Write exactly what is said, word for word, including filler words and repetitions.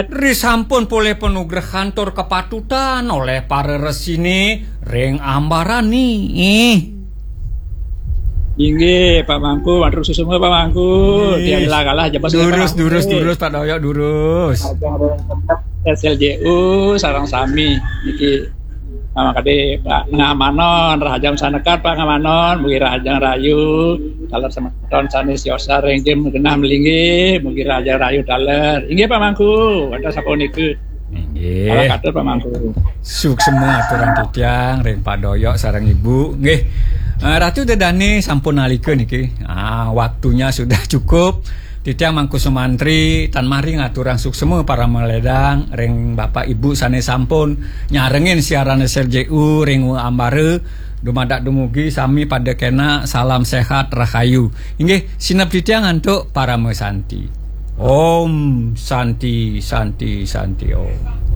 Risampun polih panugrahan tur kapatutan olih para resine ring ambarane. Inggih, Pak Mangku, matur suksma, Pak Mangku. Ih, tiang lagalah jebos, durus, Pak Mangku. Durus, durus, Pak Doyok, durus. Ajeng ring S L J U sareng sami niki. Nama kadi Pak Ngamanon, rahajeng sanekat Pak Ngamanon, mugi rahajeng rahayu, taler semeton sane siosan ring jim genah malinggih, mugi rahajeng rahayu taler. Inggih, Pak Mangku, wantah sapunika. Inggih. Salah katur, Pak Mangku. Suksma aturang titiang ring Pak Doyok sareng Ibu. Nggih. Eh, Ratu Dedane sampun nalika niki. Ah, waktunya sudah cukup. Titiang Mangku Sumantri tan mari ngaturang suksma paramaledang ring Bapak Ibu sane sampun nyarengin siaran S L J U ring ambara. Dumadak dumugi sami pada kena salam sehat rahayu. Inggih, sineb titiang antuk parama santi. Om Santi, Santi, Santi Om.